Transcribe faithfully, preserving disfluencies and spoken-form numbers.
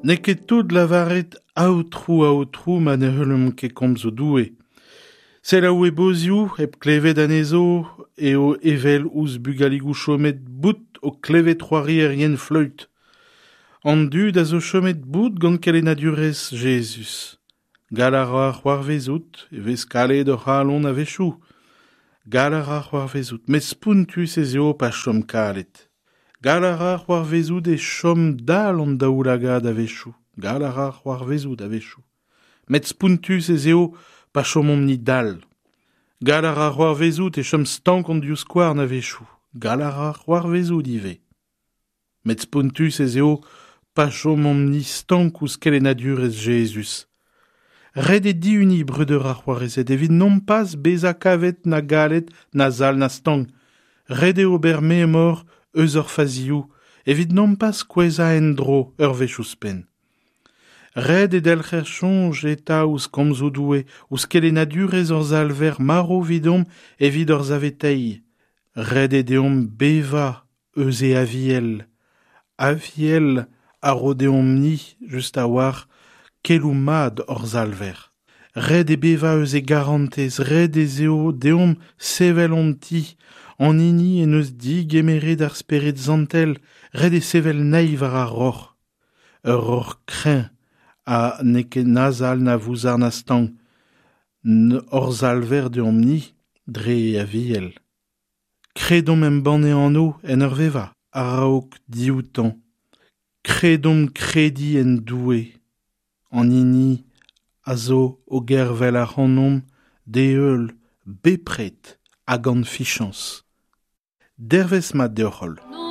N'eo ket tout lavaret Aotrou, Aotrou, ma ne heuliomp ket komzoù Doue. Selaou e bozioù, hep klevet anezho, eo evel ouzh bugaligoù chomet bout o klevet c'hoarierien fleüt. An dud a zo chomet bout gant kelennadurezh Jezuz. Gall a ra c'hoarvezout, e vez kalet hor c'halon a-wechoù. Gall a ra c'hoarvezout, met spontus ez eo pa chom kalet. Gall a ra c'hoarvezout e chom dall an daoulagad a-wechoù. Gall a ra c'hoarvezout a-wechoù. Met spontus ez eo pa chomomp-ni dall. Gall a ra c'hoarvezout e chom stank an divskouarn a-wechoù. Gall a ra c'hoarvezout ivez. Met spontus ez eo pa chomomp-ni stank ouzh kelennadurezh Jezuz. Ret eo dihuniñ breudeur ha c'hoarezed evit nompas bezañ kavet na galet, na sall na stank. Ret eo ober memor eus hor fazioù evit nompas kouezhañ en-dro ur wech ouzhpenn. Ret eo delc'her soñj eta ouzh komzoù Doue, ouzh kelennadurezh hor Salver marv evidomp evit hor saveteiñ. Ret eo deomp bevañ eus e aviel. Aviel a ro deomp-ni, just a-walc'h, keloù mat hor Salver. Ret eo bevañ eus e garantez, ret ez eo deomp sevel hon ti, an hini en deus digemeret ar Spered Santel, ret eo sevel anezhi war ar roc'h. Ur roc'h kreñv ha n'eo ket na sall na vouzar na stank. Hor Salver deomp-ni dre e aviel. Kredomp embann e anv en ur vevañ, a-raok dioutañ. Kredomp krediñ en Doue, an hini a zo o gervel ac'hanomp d'e heul bepred hag gant fiziañs. Dervezh mat deoc'h holl.